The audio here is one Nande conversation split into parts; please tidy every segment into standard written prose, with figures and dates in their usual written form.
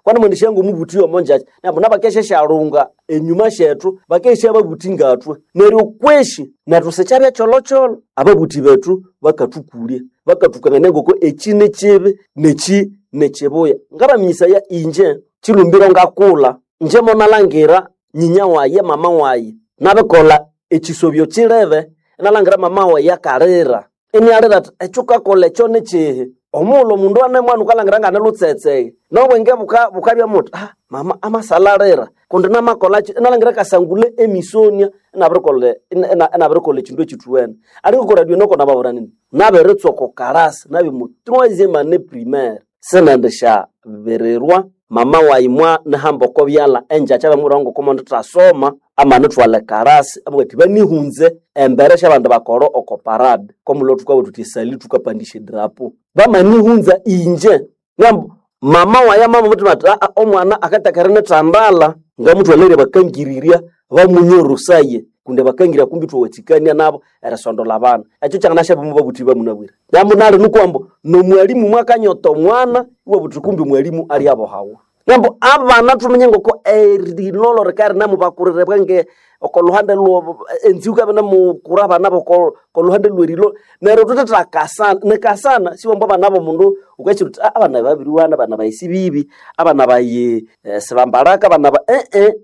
Kwana mwendesha ngo mubuti omo njacha. Nabo nabakesha sharunga enyuma shethu bakesha babuti ngatwe. Neryo kweshi nethu sechabya cholocholo ababuti bethu bakathukulya bakathukangania ngoko eki ni kibi neki nikibuya. Ngabaminyisaya inje chilumbiro ngakulha inje monalangira nyinya waye mama waye nabikolha ekisobyo kilebe inalangira mama waye akalira inialira athi ekyo wukakolha ekyo nikihi? Omughulhu omundu ane mwana wukalhangira ngane lutsetse nobwenge bukabya muthi mama amasalhalira kundi namakolhaki inalangira akasangulha emisonia inabirikolha inabirikolha ekindu ekithuwene. Alinga oko radio noko nababwira indi nabiritsuka oko kalasi nabya omo troisième année primaire sinendisyabirirwa mama wayi mwanihamba oko byalha engyakya bamubwira ngoko mondithasoma amanithwalha ekalasi amabugha athi banihunze embere syabandi bakolha oko parade komulo thukabugha thuthi esali thukapandisya edrapo. Bamanihunza inje ngambu mama wayi amabwira athi omwana akatheka erinithandalha ngamuthwalere bakangirirya bamunyorosaye kundi bakangirya kumbi ithwawathikania nabo erisondola abana. Ekyo kyanganasyaba omo babuthi bamunabwire. Nambu nali nuku ambu nomwalimu mwakanyota omwana iwabugha uthi kumbi omwalimu alyabohawa. Nambu abana thuminye ngoko erilolo rikabya rinemu oko luhande enziku yikabya inemukura abana boko luhande lwerilo neryo thuthithakasana nikasana siwambu abana bomundu wukakira wuthi abana babiriwana abana bayi sibibi abana bayi sibambalaka abana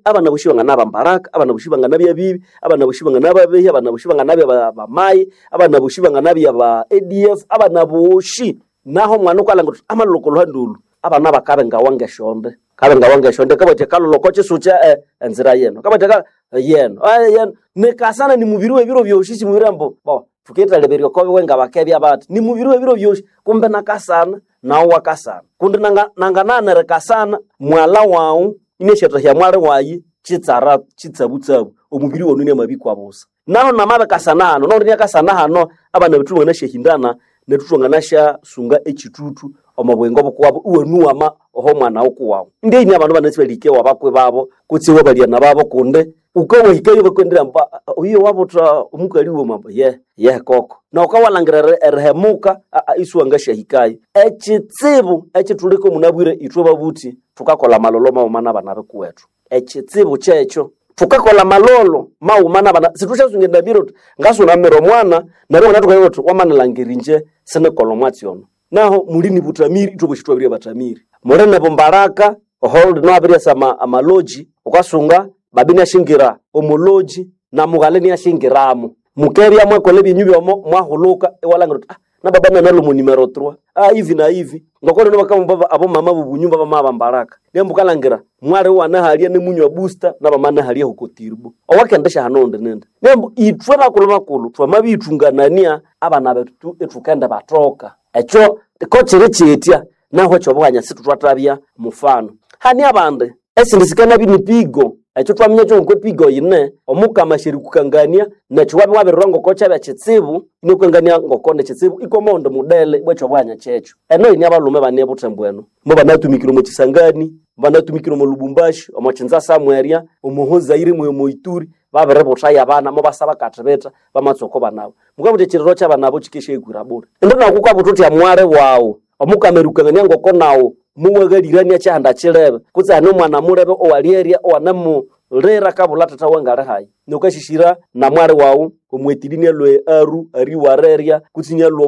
abana bosi banganabambalaka abana bosi banganabya bibi abana bosi banganababehi abana bosi banganabya bamayi abana bosi banganabya ba ADF abana bosi naho omwana wukalhangira wuthi amalhwa oko luhande olhu abana bakabengawa ngesyonde kabengawa ngesyonde kabathi akalholha oko kyisukya enzira yeno kabathi yeno yeno nikasana nimubiri webiro byosi simubiri ambu bo thukithaleberya oko biwe ngabakebya bathi nimubiri webiro byosi kumbe nakasana nawu wakasana kundi nanganaghana erikasana mwalha wawu inasyathahya mwali wayi kitsara kitsabutsabu omubiri wanu inamabikwa busa. Naho namabikasana hano naundi inakasana hano abana bethu banganasyahindana nethu thwanganasyasunga ekithuthu omo buyingo bukuwabo iwanuwama oho mwana wukuwawu. Ndeni abandu banasi balihike wabakwi babo kutse iwabalyana babo kundi wukawahikayo bakwendera ambu oyo wabutha omukali wuma ambu ye ye koko. Nawukawalhangira erihemuka isiwangasyahikayo. Ekitsibu ekithuleka munabwire ithwe babuthi thukakolha amalholo maghuma nabana bikuwethu. Ekitsibu kyekyo thukakolha amalholo maghuma nabana sithusyasunga endamiro thuthi ngasunamira omwana neryo wangathuka wuthi wamanilhangira inje sinikolha omwatsi ono. Naho muli nibuthamiri ithwe bosi thwabiribya bathamiri. Muli nibumbalaka oho lino habiryasa amaloji wukasunga babi inyasyingira omo lodge na mughalha inyasyingiramo. Mukebya mwakolha ebyenyu byomo mwahulhuka iwalhangira wuthi na baba nanalwa omo numero 3 hivi na hivi. Ngoko lino bakabugha abomama bobunyumba bamabambalaka neryo wukalhangira mwali iwanahalya nimunywa booster nabamanahalya oko tirbo owakendisyaghana owundi nindi. Neryo ithwe bakulhu bakulhu thwamabiyithunganania abana bethu ithukendibathoka. Ekyo kokyiri kyitya nahu ekyobughanya sithwathabya mufano. Hane abandi esindi sikanabya nipigo ekyo thwaminya ngoko epigo yine omukama asyerikukangania nekyo wabya wabirirwa ngoko kyabya kitsibu inakukangania ngoko nikitsibu ikwa owundi mudele ibwa ekyobughanya kyekyo. Eno yine abalhume bane ebuthembu eno mubanatumikire omo Kisangani, mubanatumikire omo Lubumbashi, omo Kinshasa mwerya, omo Haut-Zaire omo Ituri babiributhayo abana mubasa bakathibitha bamatsuka abanabo. Mukabugha muthi ekyiririro kyabana abo kyikesyayikwira bule. Indi naku wukabutha wuthi mwali wawu omukama erikukangania ngoko nawu muwaghalirania kyihanda kyilebe kutse hane omwana mulebe owalyerya owanemulira akabulha thatha wangali hayi. Nukasyisyira na mwali wawu omwetiri inialhwa Aru ariwarerya kutse inialhwa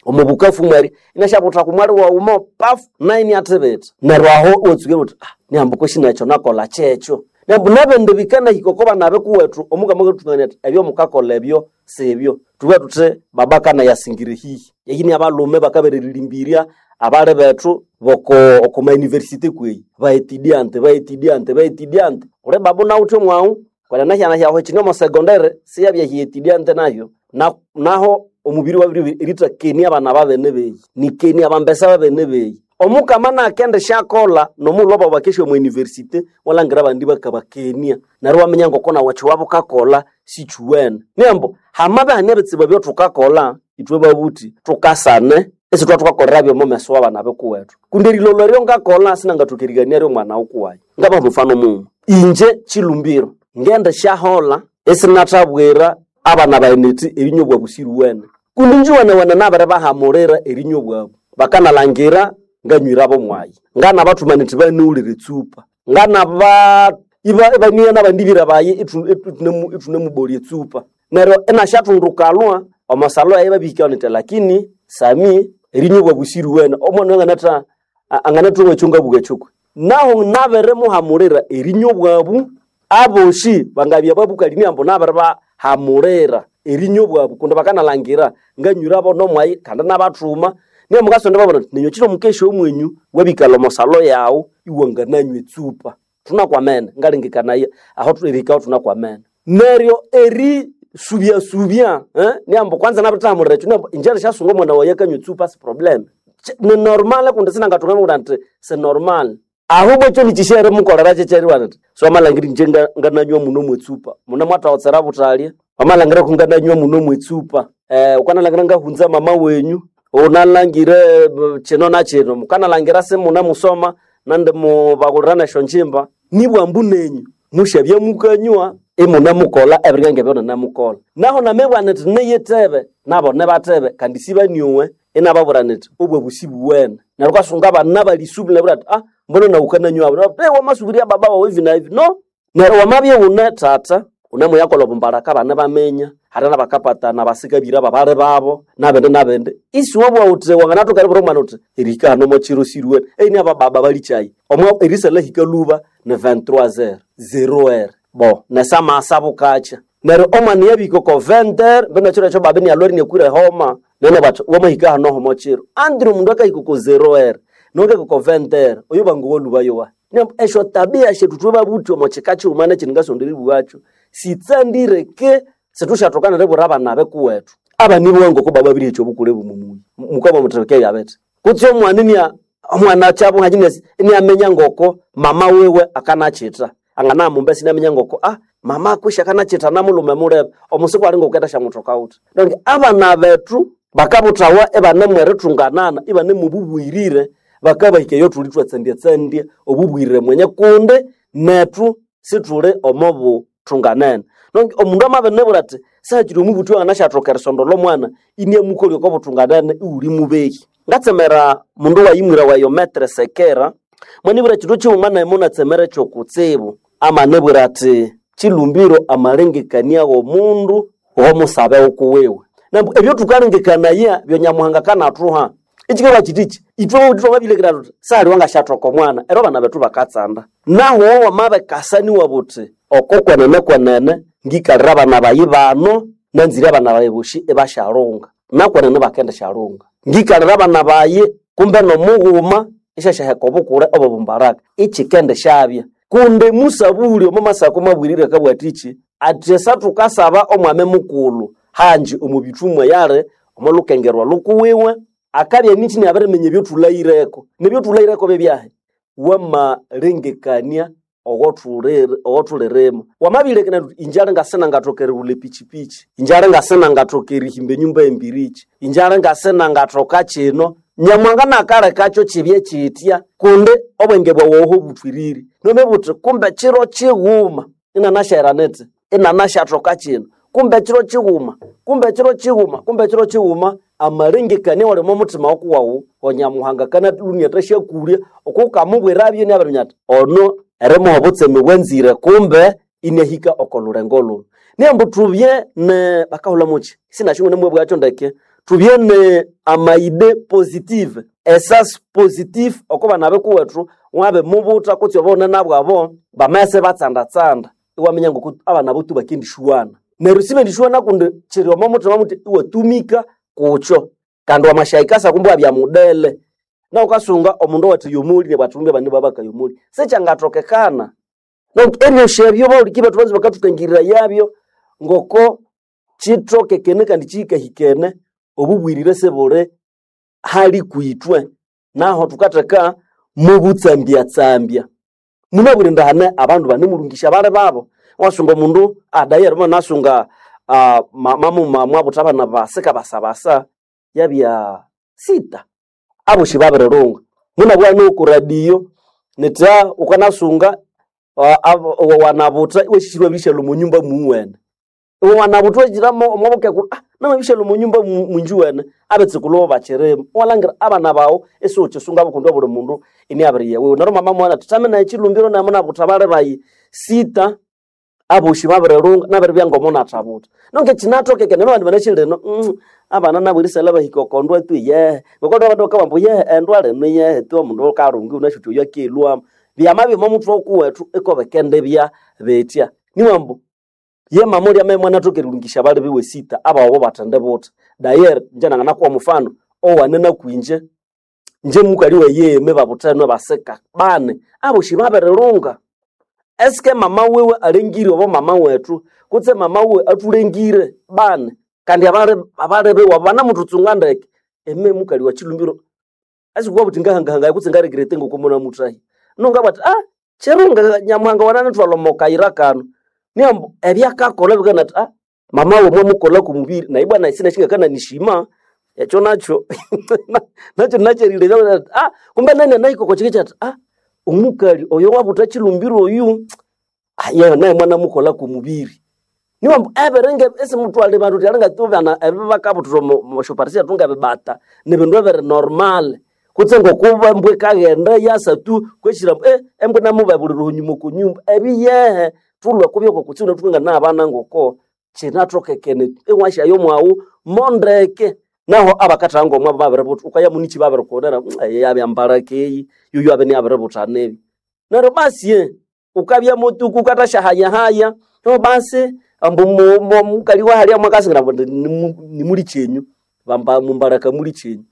omo Bukavu mwerya inyasyabutha ku mwali wawu mo pafu nayu iniathibitha. Neryo aho iwatsuka wuthi nihambu kwesi nekyo nakolha kyekyo. Neryo nabindi bikanahika oko bana bikuwethu omukama akathuthungania athi ebyo mukakolha ebyo sibyo. Thubughe thuthi baba akanayasingire hihi. Eyi niabalhume bakabereririmbirya abali bethu boko oko ma university kweyi baetidiante baetidiante baetidiante. Ghuli babu nawuthe mwawu kwenene ehyana hyawu kyine omo secondary siyabya hyetidiante nahyo naho omubiri wabiribya erithakenĩa abana babene beyi nikenia abambesa babene beyi. Omukama nakendisyakolha nomughulhu babu bakesya omo university iwalhangira abandi bakabakenia neryo iwaminya ngoko nawu ekyo wabya sikyuwene. Neryo hamabya ihane ebitsibu ebyathukakolha ithwe babuthi thukasane isithwathukakolera byomo meso wabana bikuwethu. Kundi erilolho eryo ngakolha sinangathoka erighania omwana wukuwayi. Ngabaha omufano mughuma inje kyilumbiro ngendisyaholha isinathabwira abana bayi nithi erinywa obwabu siriwene. Kundi inje iwenewene nabiribahamulira erinywa obwabu. Bakanalhangira Nganywirabo mwayi ngana bathuma nithi baniwulire etsupa, ngana ba iba ibaniya nabandi bira bayi ithune mubolya etsupa. Neryo inasyathundukalwa omo salo eyo ibabihikayo niti, lakini Sami erinywa bwabusiri wene omwana anganatha anganathunga ekyo ngabuga ekyokwe. Naho nabirimuhamulira erinywa bwabu, abosi bangabya babukali ambu nabiribahamulira erinywa bwabu, kundi bakanalangira nganywirabo nomwayi kandi nabathuma. Niyo mukasonda babona ninyo kiro mukesha omwenyu wabikalha omo salo yawu iwangananywa etsupa. Thunakwamene ngalengekanaya aho erihikaho thunakwamene. Neryo eri subya subya niambu kwanza nabirithahamulira ekyo, niambu inje erisyasunga omwana wayi akanywa etsupa si problem. Ni normal, kundi sinangathunga ngabugha nti si normal. Ahubwo ekyo nikyisyerimukolera kyekyeribugha nti siwamalhangira inje ngananywa muno mwetsupa, munemwathahotsera buthalya, wamalhangira ku ngananywa muno mwetsupa, wukanalhangira ngahunza mama wenyu, wunalhangire kino na kino, mukanalhangira simunemusoma nandimubaghulira nesyo ngyimba. Nibwambu nenyu musyabya mukanywa imunemukolha ebirya ngebyo ninemukolha. Naho namibugha nithi niyithebe, nabo nibathebe kandi sibanyowe, inababwira nithi obwabu sibuwene. Neryo wukasunga abana bali subiri nabwira athi, ah, mbona nawu wukananywabo? Nabo, eh, wamasubirirya baba wawu hivi na hivi. No, neryo wamabya iwune thatha, wunemuyakolha obumbalaka abana ibaminya, hali nabakapatana basikabira babali babo, nabindi nabindi. Isiwabugha wuthi wanganathoka eribwira omwana wuthi erihika hano omo kiro siriwene, eine abababa balikyayi. Omo erisalhahika lhuba ni 23h, 0h. Bo, nesamasa bukakya. Neryo omwana yabihika oko 20h, mbino ekiro ekyo baba inialhwere iniakwire ehoma, nene bathi wamahika hano homo kiro. Andire omundu akahika oko 0h, nokahika oko 20h, oyo bangowa lhuba yowahi. Neryo esyo tabia syethu ithwe babuthi omo kika kighuma nekindi ngasonda eribugha sitsandire ke sithusyathokana eribwira abana bekuwethu. Abana ibowa ngoko bababirihekya obukule bumumuyi. Mukabugha muthi bikebya bithi. Kutse omwana inia omwana akyabuha iniaminya ngoko mama wiwe akanakyitha. Anganamumbesa inaminya ngoko ah, mama kwisi akanakyitha namulhume mulebe. Omusiku ali ngoko endasyamuthoka wuthi. Donc abana bethu bakabuthawa ibanemu erithunganana, ibanemu obubwirire, bakabahika eyo thuli ithwatsandyatsandya obubwirire mwenye kundi nethu sithuli omo buthunganene. Donc omundu amabinibwira athi sahakiri omubuthi wanganasyathokera erisondolha omwana, iniamukolya oko buthunganene iwuli mubehi. Ngatsemera mundu wayimwira wayo Metre Sekera, mwanibwira ekindu kighuma nayi munatsemera ekyokutsibu. Amanibwira athi kilumbiro amalengekania w'omundu w'omusabe wukuwiwe. Nambu ebyo thukalengekanaya byo Nyamuhanga akanathuha. Ekyikalhwa kyithikyi, ithwe babuthi thwamabilekera thuthi sahali wangasyathoka omwana, neryo abana bethu bakatsanda. Nahu wamabikasa niwabugha wuthi oko kwenene kwenene ngikalira abana bayi bano, nanzire abana bayi bosi ibasyalhunga. Nakwenene bakendisyalhunga. Ngikalira abana bayi kumbe nomughuma isyasyaheka obukule obw'obumbaraka, ikyikendisyabya. Kundi musabuli omo Masako mabwirire akabugha athiki, athi esathukasaba omwami mukulhu hanji omo bithumwa yali omo lukengerwa lhukuwiwe, akabya enithi inabiriminya ebyothulhaghireko. Nebyothulhaghireko byebyahi? Wamalengekania owothulirima. Wamabilekana uthi inje alingasinangathoka erighulha epichipichi, inje alingasinangathoka erihimba enyumba y'embiriki, inje alingasinangathoka kino, Nyamuhanga nakalekakyo kibye kyitya kundi obwenge bwawu oho buthwirire. Nomibugha wuthi kumbe kiro kighuma inanasyaghira nithi inanasyathoka kino, kumbe kiro kighuma, kumbe kiro kighuma, kumbe kiro kighuma, amalengekania awali omo muthima wukuwawu Onyamuhanga akanalhunia athasyakulya okukamubwirabyo inabiriminya athi ono erimuha obutseme bwanzire kumbe inahika oko lhulengo lhunu. Niyambu thubye ne bakahulha mukyi sinasyo ngune ndeke, thubye ne amaide positive, esasi positive oko bana bikuwethu wabimubutha kutse obune nabwabo bamabya ibatsandatsanda iwaminya ngoku abana botu bakendishuwana. Neryo sibendishuwana kundi kyiri omo muthima muthi iwatumika kukyo kandi wamasyahikasa kumbe iwabya mudele. Na wukasunga omundu owathi yomoli nabwathu kumbe abana ibabaka yomoli. Sikyangathokekana. Donc eryosya ebyo bahuliki bethu banza bakathukangirira ngoko kyithokekene kandi kyihikahikene obubwirire sibuli hali kwithwe. Naho thukatheka mubutsambyatsambya. Munabwire indi hane abandu banemulungisya abali babo. Iwasunga omundu adayeri mwanasunga mamuma mwabutha abana basika basabasa yabya sita. Abosi babirirunga. Munabugha nuku radio nithi wukanasunga wanabutha iwasisirwe iwabirishalha omo nyumba muwene. Iwe wanabutha iwahiramo omo bukekulu. Namabisha munyumba mwinjuwene abetsukulhu bakirimo. Walangira abana bawo esiwukisunga bukundi obuli mundu iniabiriya wewe. Neryo mama mwana thame naye chilumbiro naye munabuta bali bayi sita aboshi babirilunga nabiribya ngomunathabuta. Nonke kinatokeke neryo abandi banashilino abana nabo erisala bahika okondwa tu yehe. Ngokondo abandu bakabugha ambu yehe endwa lino yehe tu omundu kalungi wunasi wuthi oyu akelhwamu. Byamabya omo muthwe kuwethu iko bikendibya bitya. Niwa ambu ye mama olya amabya mwanathoka erilungisya abali biwe sita abaghobo bathendibutha. Dayeri ingye nanganakuha omufano owane nakwingye, ingye mukali wayi eyeme babuthene basika bani aboshi babirilunga. Esike mama wiwe alengire obo mama wethu kutse mama wiwe athulengire bani kandi abali biwe banamuthuntsunga ndeke eme mukali wa chilumbiro asikubwa buthi ngahangahangaya kutse ngarekerete ngoko munamuthahya. Nungabugha athi kirunga Nyamuhanga wananithwalha omo kayira kano. Niambu ebyakakolha bikabugha athi mama wiwe mwamukolha kw'omubiri naye bwana sinasi ngakananishima ekyo nakyo nakyo nakyerilebya athi kumbe nani anahika oko kiki athi omukali oyo wabutha chilumbiro oyu yewe naye mwanamukolha kw'omubiri. Niwa ambu ebiringa isimuthwalha bandu wuthi alinga tu bana ebi bakabuthira omo syoparty syethu ngebibata nibindu ebiri normal kutse ngokuba embwa ikaghenda yasa tu kweshira ambu embwa inamubebulira onyuma oko nyumba ebiyehe thulhwe kubya kutsibu inathukanganaya abana ngoko kinathokekene iwasyayo omwaghu mondeke. Naho abakathagha ngomwabo babiributha wukaya munichi babirikulira eyi yabya mbalaka eyi yoyu abya inabiributha nibi. Neryo basi wukabya mutuku wukathasyahayahaya neryo basi ambu mukali wahalya mwakasingira ambu nimulikyenyu bamba mumbalaka mulikyenyu.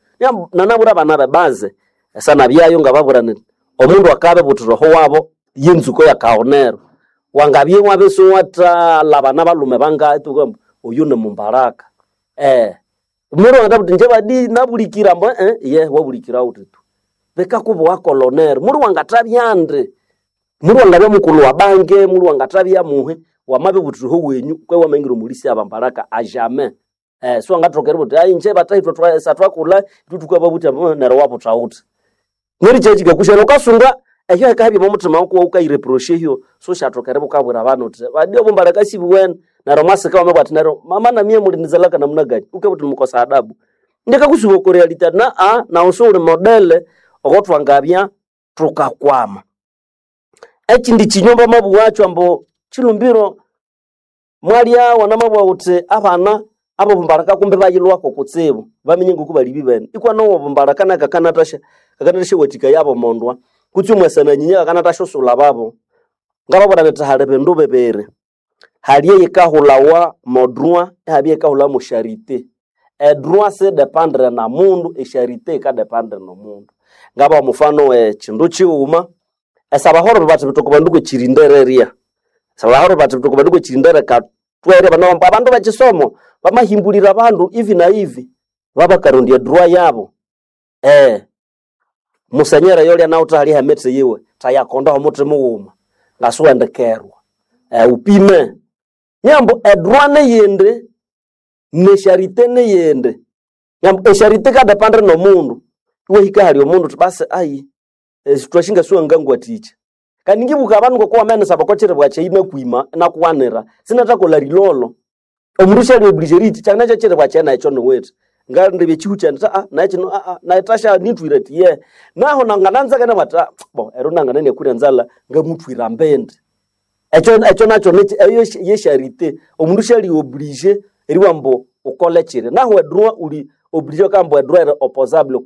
Nanabwira abana bebaze esanabyayo ngababwira indi omundu akabibuthira oho wabo yenzuko yakaghunera. Wangabya iwabya isiwathalhabana balhume bangahi iwabugha ambu oyu nimumbalaka. Omundu angathabugha athi ingye badi nabulikire ambu iye wabulikira wuthi tu. Bikakubuwa kolonero muli wangathabya ndi, muli wangabya mukulhu wa bange, muli wangathabya muhi wamabibuthira oho wenyu kwe wamaghira omulisi abambalaka ajamais. Siwangathoka eribugha wuthi ingye bathahi ithwe sathwakulha ithwe thukababuthya ambu neryo wabutha wuthi. Neryo kyekikakusya wukasunga ehyo hikabya omo muthima wukuwe wukayireprocha ehyo siwusyathoka eribya wukabwira abana wuthi badi obumbalaka sibuwene neryo mwasika wamabugha athi neryo mama namiye mulinizalaka namuna gani wukabugha wuthi nimukosa adabu. Indikakusuba oko reality athi nawu siwuli modele okothwangabya thukakwama. Ekindi kinywa bamabugha ambu chilumbiro mwalya wanamabugha wuthi abana abobumbalaka kumbi bayilhwako kutsibu baminya ngoku bali bibene. Ikwa nowo obumbalaka nako kakanathasyawathikaya abomondwa kutse omwasananyinya kakanathasyusulha babo. Ngababwira nyithi hali bindu bibiri, hali eyikahulhawa mo droit ihabya eyikahulhawa mo charité. Edroit siyidepandire na mundu, echarité yikadepandire nomundu. Ngabaha omufano wekindu kighuma, esabahororo bathi bithoka bandu kwekirindererya, esabahororo bathi bithoka bandu kwekirindere katwere banabugha ambu abandu bekisomo bamahimbulira abandu ivi na ivi babakarondya edroit yabo. Musenyera yolya nawuthe hali hemithi yiwe thayakondaho omuthi mughuma ngasiwendikerwa wupime. Niambu edroit niyindi necharité niyindi. Niambu echarité yikadepandire nomundu iwahika ahali omundu wuthi basi ayi thwasi ngasiwangangwathikya. Kandi ngibuka abandu ngoko wamayanisaba oko kiribwa kyayi inakwima inakuwanira sinathakolha rilolo. Omundu syali oblige eriyithikya nakyo ekiribwa kyayi nayi kyoniwithe. Ngalindibya ekihu kyayi indi nayi kino nayi thasya nithwire athi yehe. Naho nangananzeka inabugha athi bo ero nangana inakwire enzalha ngamuthwira mbindi. Ekyo nakyo eyo ye charité omundu syali oblige eribugha ambu wukole kiri. Nahu edroit wuli oblige bakabugha ambu edroit eri opposable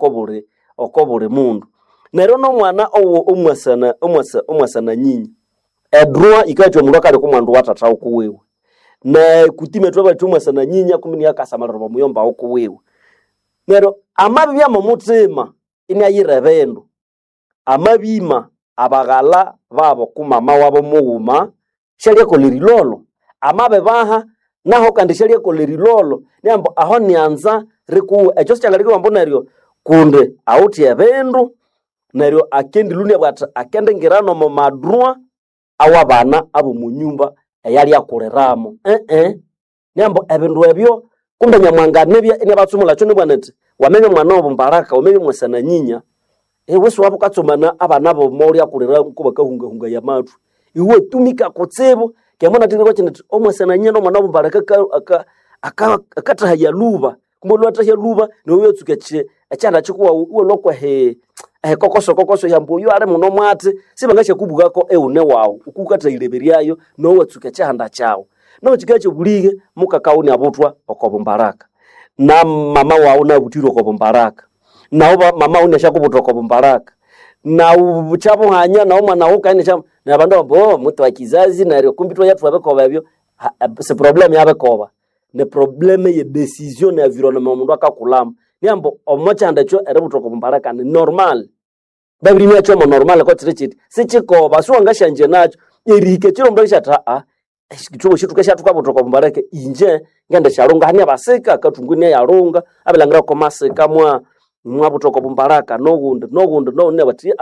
oko buli mundu. Neryo nomwana owo omwasananyinya edroit yikawathikaya omundu akalya oko mwandu wa thatha wukuwiwe. Nekutime thwabathi omwasananyinya kumbe inakasamalira omwa muyomba wukuwiwe. Neryo amabibya momuthima inayira ebindu, amabima abaghalha babo kumama wabo mughuma syalyakolha erilolo, amabibaha naho kandi syalyakolha erilolo niambu aho nyanza rikuwe. Ekyo sikyangalekibwa ambu neryo kundi awithe ebindu neryo akendilhwa inabugha athi akendingira nomo madroit awabana abomunyumba eyalyakuliramu Niambu ebindu ebyo kumbe Nyamuhanga anibya iniabatsumulha kyo nibugha nithi wamabya mwana wobumbalaka wamabya mwasananyinya iwe siwabya wukatsumana abana bomolyakulira kubakahungahungaya amathwi. Iwe tumika kutsibu keghe munathekireko kindi indi omwasananyinya nomwana wobumbalaka Akathahaya luba kumbe lwathahya luba niwe watsuka ekyanda kikuwawu iwalhwa kwehi ehikokoso yambu oyu ali muno mwatsi sibangasyakubwako eghune wawu oku wukathayileberyayo nawu iwatsuka ekyihanda kyawu. Nahu kikabya kyobulighe mukakawu iniabuthwa oko bumbaraka na mama wawu inabuthirwa oko bumbaraka nawu mama wawu iniasyakubutha oko bumbaraka nawu kyabuhanya nawu omwana wukayi neryo abandu ibabugha ambu muti wa kizazi neryo kumbi ithwaya thwabikoba ebyo si problem yabikoba ni problem ye decision ne environment omundu akakulhamu. Niambu omo kyihanda ekyo eributhwa oko bumbaraka ni normal babiriminya kyomo normal ko kiri kiti sikyikoba siwangasyangye nakyo erihika ekiro omundu akisya athi ithwebosi thukasya thukabutha oko bumbaraka inje ngendisyalhunga hane abasika akathungu inayalhunga abilhangira komasika mwabutha oko bumbaraka noghundi noghundi noghundi bathi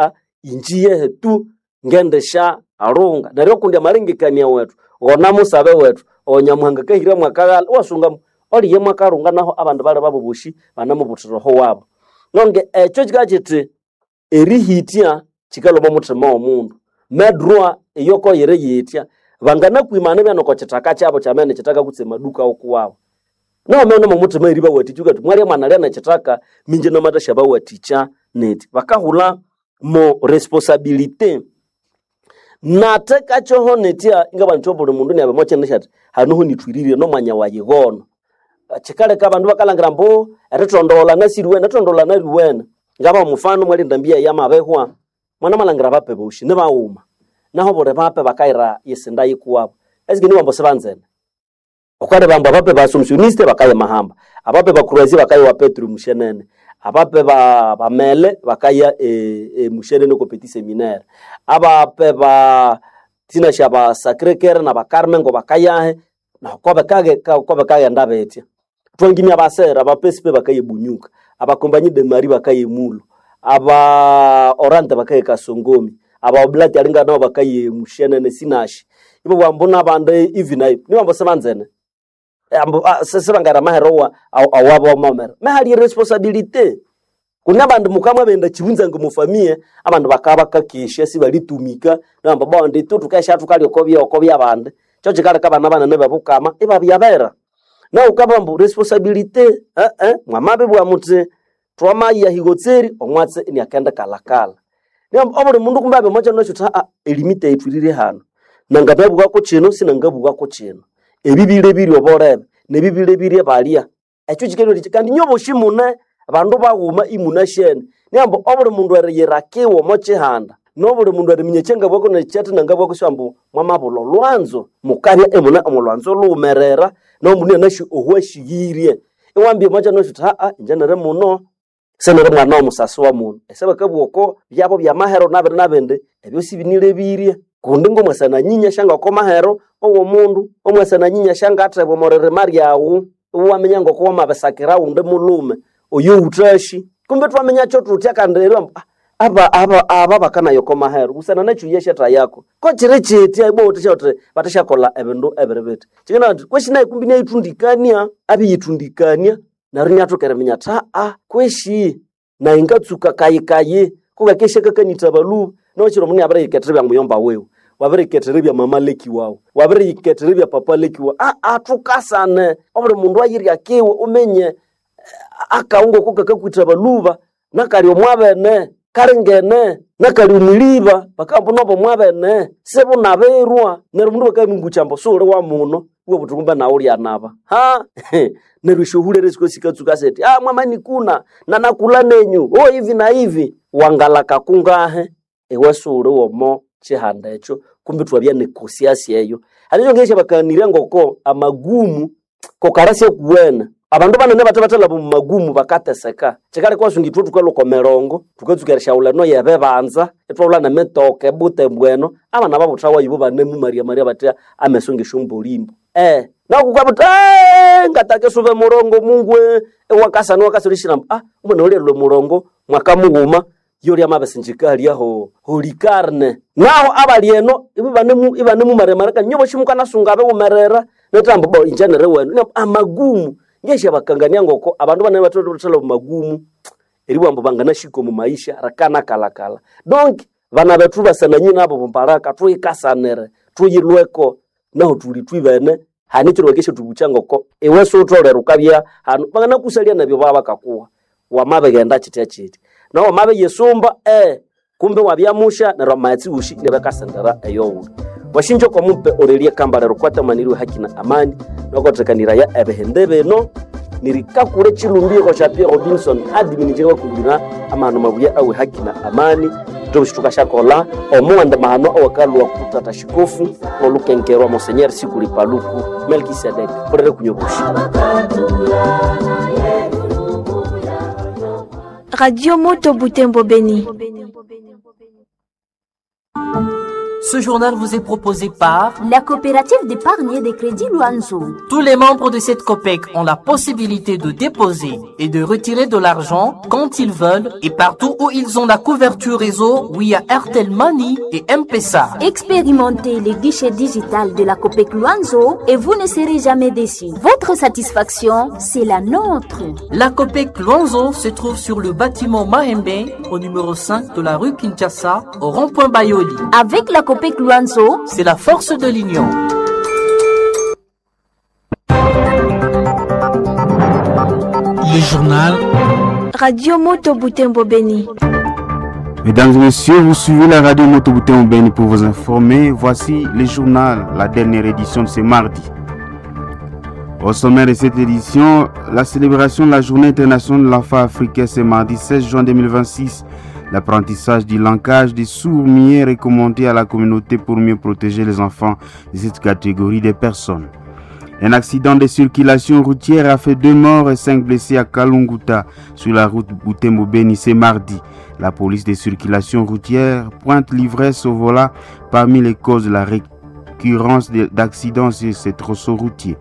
inji yehe tu ngendisya lhunga. Neryo kundi amalengekania wethu ghona musabe wethu owo Nyamuhanga akahira mwakaghalha iwasunga oliye mwakalhunga naho abandu bali babo bosi banamubuthira oho wabo. Nonge ekyo kikabya kiti erihitya kikalhwa omo muthima womundu medroit iyoko yiriyitya banganakwimana ibya noko kithaka kyabo kyamene kithaka kutse amaduka okuwabo. Nawu nomo muthima eribawathikya wukathi mwalya mwanalya nekithaka minje namathasyabawathikya nethi. Bakahulha mo responsabilité nathekakyoho nethya ingabugha indi obuli mundu iniabya omo kyina syathi hanoho nithwirire nomwanya wayi gono. Kyikaleka abandu bakalhangira ambu erithondogholana siriwene erithondogholana riwene. Ngabaha omufano mwali endambi yayi yamabihwa mwanamalhangira abape bosi nibaghuma naho obuli bape bakayira esinda yikuwabo esike nibughambu sibanzene. Ghukaleba ambu abape ba Assumptioniste bakaya e Mahamba, abape ba Croisie bakaya ewa Petro Mushenene, abape ba Mele bakaya e Mushenene oko Petit Seminaire, abape ba thinasya ba Sacre Coeur naba Carme ngo bakayahe naho kobikaghenda bitya. Thwangimya abasere aba PSP bakaya e Bunyuka, aba Compagnie de Marie bakaya e Mulo, aba Orante bakaya e Kasongomi, aba Oblati alinga nabo bakaya e Mushenene Sinashi. Ibabugha ambu nabandi ivi na ivi nibughambu sibanzene ambu sibangayira amahere awabo wamamera. Mehali eresponsabilité kune abandu mukamwabenda kibunza ngomufamiye abandu bakabya bakakesya sibalitumika nibabugha ambu bondi ithwe thukesya thukalya oko byabandi. Kyo kikaleka abana banene bebukama ibabya bera. Nawu wukabugha ambu responsabilité mwamabibugha muthi thwamaya higotseri omwatsi iniakendikalhakalha. Nibughambu obuli mundu kumbe abya omwa kyiro syuthi elimite yithwirire hanu nangababugha kyino sinangabugha kyino. Ebi bilebirye obolebe nebi bilebirye balya. Ekyo kikalhwa kandi inywebosi mune bandu baghuma imunasyene. Nibughambu obuli mundu eriyira kiwe omo kyihanda nobuli mundu eriminya ekyangabwako nekyathinangabwako ambu mwamabulha olhwanzo mukabya imune omo lhwanzo lhughumerera nomundu inianasi ohuasyighirye. Iwambya omwa kyiro syuthi inje niri muno siniri mwana womusasi wa mundu. Esyabakabugha oko byabo byamahero nabindi nabindi ebyo sibinilebirye kundi ngomwasa nanyinya syangoko mahero owomundu, omwasa nanyinya syangathebwa omo ririma lyawu iwaminya ngoko wamabisakira ghundi mulhume oyowuthasi. Kumbe ithwaminyakyo thuthya kandi eribugha ambu aba bakanaya oko mahero busana nekyo iyasyathayaku. Ko kiri kyitya ibwa iwuthe wuthi bathasyakolha ebindu ebiri bithi. Kyikanalha indi kwesi nayu kumbi inayithundikania abiyithundikania neryo iniathoka eriminya athi kwesi nayi ngatsuka kayikayi kungakesya kakanitha balhuba nowakiro omundu inabiriyikethera ebya muyomba wiwe, wabiriyikethera ebya mama leki wawu, wabiriyikethera ebya papa leki wawu thukasane obuli mundu ayirya kiwe uminye akawu ngoko kakakwitha balhuba nakali omwabene kalingene nakali omwiliba bakabugha ambu nobo mwabene sibunabirwa neryo omundu bakamubukya ambu sighuli wa muno iwabugha wuthi kumbe nawu ulyanaba neryo esyohulere sikatsuka sithi mwamanikuna nanakulha nenyu hivi na hivi wangalaka kungahe iwe sighuli womo kyihanda ekyo kumbi ithwabya ne conscience eyo. Hali ekyongera bakanirya ngoko amagumu kokarasya kuwene abandu banene bathe bathalhaba omu magumu bakateseka. Kyikaleka iwasunga ithwe thukalhwa oko mirongo thukatsuka erisyaghulha eno yebibanza ithwaghulha nemitoka ebutembo eno abana babuthawa ibo banemumaryamarya bathi ameso ngesyombolimbo. Naku wukabugha wuthi ngataka isuba emurongo Mungu iwakasana iwakasana erishira ambu omwana oyu alyalhwa emurongo mwaka mughuma yolya amabisinjika halya holikarne. Naho abali eno ibanemumaryamarya kandi inywebosi mukanasunga abighumerera nethu ambu bo inje niriwenu amagumu ngesyabakangania ngoko abandu banene batholere omu magumu eribugha ambu banganahika omu maisha rikanakalhakalha. Donc bana bethu basananyi nabo bumbaraka thuyikasanire thuyilhweko nahu thuli thwibene. Hani kiro wakesha tubucha ngoko iwe sutolera ukabya hanu banganakusalia nabyo baba bakakuha wamabegenda chitya chiti na wamabe yesumba kumbe wabyamusha neryo amaghetse wushi nibakasendera eyowu washinja kwa mupe orelie kambale rukwatamaniriwe haki na amani nokothekaniraya ebihinde bino nirikakure chilumbiro sha Pierre Robinson adiminije wakumbira amahano mabuya awe haki na amani tobishtukashakola omuwanda mahano awakalwa kutata shikofu olukenkerwa Monseigneur Sikuli Paluku Melkisedek orere kunyobushi. Radio Moto Butembo Beni. Ce journal vous est proposé par la coopérative d'épargne et de crédit Luanzo. Tous les membres de cette COPEC ont la possibilité de déposer et de retirer de l'argent quand ils veulent et partout où ils ont la couverture réseau via Airtel Money et M-Pesa. Expérimentez les guichets digital de la COPEC Luanzo et vous ne serez jamais déçus. Votre satisfaction, c'est la nôtre. La COPEC Luanzo se trouve sur le bâtiment Mahembe au numéro 5 de la rue Kinshasa au rond-point Bayoli. Avec la COPEC Luanzo, c'est la force de l'union. Le journal Radio Moto Butembo Beni. Mesdames et messieurs, vous suivez la radio Moto Butembo Beni pour vous informer. Voici le journal, la dernière édition de ce mardi. Au sommaire de cette édition, la célébration de la Journée internationale de l'enfant africain ce mardi 16 juin 2026. L'apprentissage du langage des sourds-muets recommandé à la communauté pour mieux protéger les enfants de cette catégorie de personnes. Un accident de circulation routière a fait 2 morts et 5 blessés à Kalunguta sur la route Butembo-Beni ce mardi. La police de circulation routière pointe l'ivresse au volant parmi les causes de la récurrence d'accidents sur ces tronçons routiers.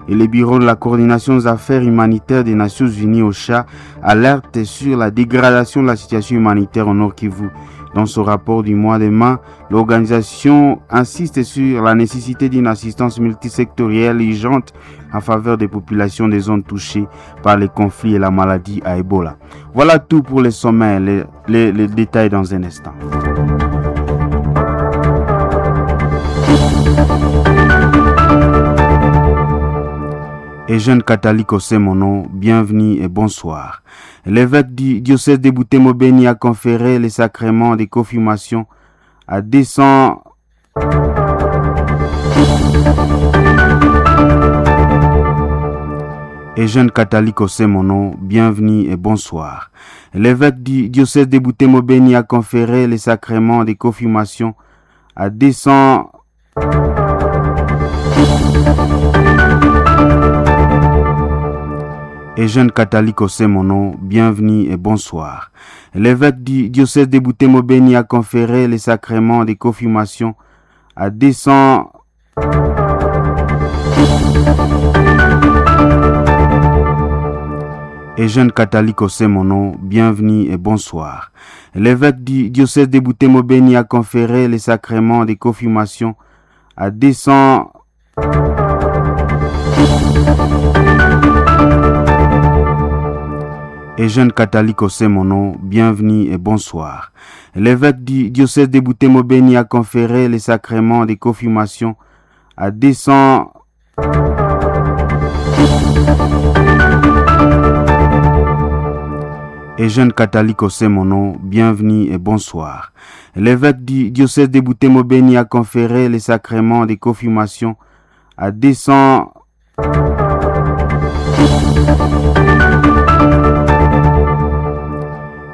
Et le bureau de la coordination des affaires humanitaires des Nations Unies OCHA alerte sur la dégradation de la situation humanitaire au Nord Kivu. Dans son rapport du mois de mai, l'organisation insiste sur la nécessité d'une assistance multisectorielle urgente en faveur des populations des zones touchées par les conflits et la maladie à Ebola. Voilà tout pour les sommets, les détails dans un instant. Et jeune catholique au Mono, bienvenue et bonsoir. L'évêque du diocèse de Butembo-Beni a conféré les sacrements de confirmation à 200 Et jeune catholique au Mono, bienvenue et bonsoir. L'évêque du diocèse de Butembo-Beni a conféré les sacrements de confirmation à 200 Et jeune catholique au Mono, bienvenue et bonsoir. L'évêque du diocèse de Butembo-Beni a conféré les sacrements de confirmation à 200 Et jeune catholique au Mono, bienvenue et bonsoir. L'évêque du diocèse de Butembo-Beni a conféré les sacrements de confirmation à 200 Et jeune catholique au Mono, bienvenue et bonsoir. L'évêque du diocèse de Butembo-Beni a conféré les sacrements de confirmation à 200 Et jeune catholique au Mono, bienvenue et bonsoir. L'évêque du diocèse de Butembo-Beni a conféré les sacrements de confirmation à 200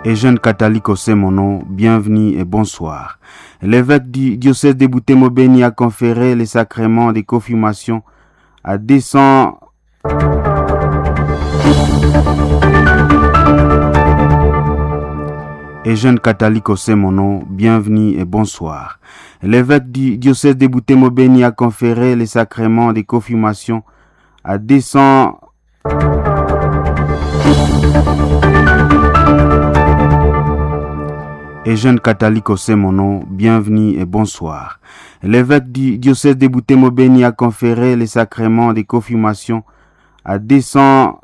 Et jeune catholique au Mono, bienvenue et bonsoir. L'évêque du diocèse de Butembo-Beni a conféré les sacrements de confirmation à 200 Et jeune catholique au Mono, bienvenue et bonsoir. L'évêque du diocèse de Butembo-Beni a conféré les sacrements de confirmation à 200 Et jeune catholique au Mono, bienvenue et bonsoir. L'évêque du diocèse de Butembo-Beni a conféré les sacrements de confirmation à 200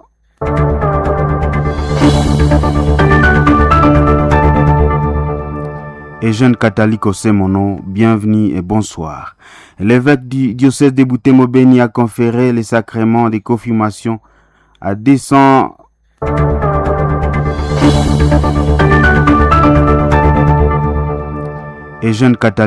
Et jeunes catholiques au Sémono, bienvenue et bonsoir. L'évêque du diocèse de Butembo-Beni a conféré les sacrements de confirmation à 200 et jeunes catholiques.